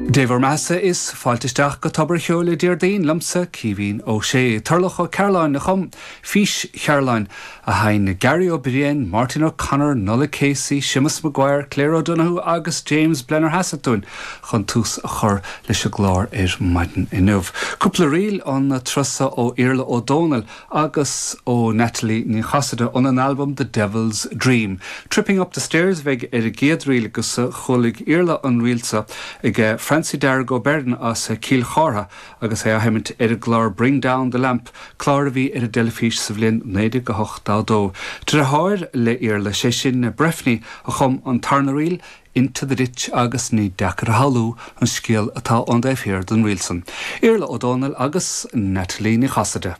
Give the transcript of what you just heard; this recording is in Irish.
Dé bhur mbeathasa is fáilte isteach go Tobar a' Cheoil le Déardaoin, liomsa, Caoimhín Ó Sé. Turlough Ó Cearláin a chum Fís Chearláin, a sheinn Gary Ó Briain, Máirtín O'Connor, Nollaig Casey, Séamus Maguire, Claire O'Donoghue agus James Blennerhassett dúinn chun tús a chur leis an gclár ar maidin inniu. Cúpla ríl an turas so ó Iarla Ó Dónaill agus ó Natalie Ní Chasaide óna n-albam The Devil's Dream. Tripping Up the Stairs a bheidh ar an gcéad ríl agus chualaigh Iarla an ríl so ag Francie Dearg Ó Beirn as Cill Chártha agus é á sheimint ar an gclár Bring Down the Lamp, clár a bhí ar an dteilifís sa bhliain 1982. Deartháir le Iarla, sé sin Breifne, a chum an tarna ríl, Into the Ditch agus ní deacair a shamhlú an scéal atá ón dtaobh thiar den ríl san. Iarla Ó Dónaill agus Natalie Ní Chasaide.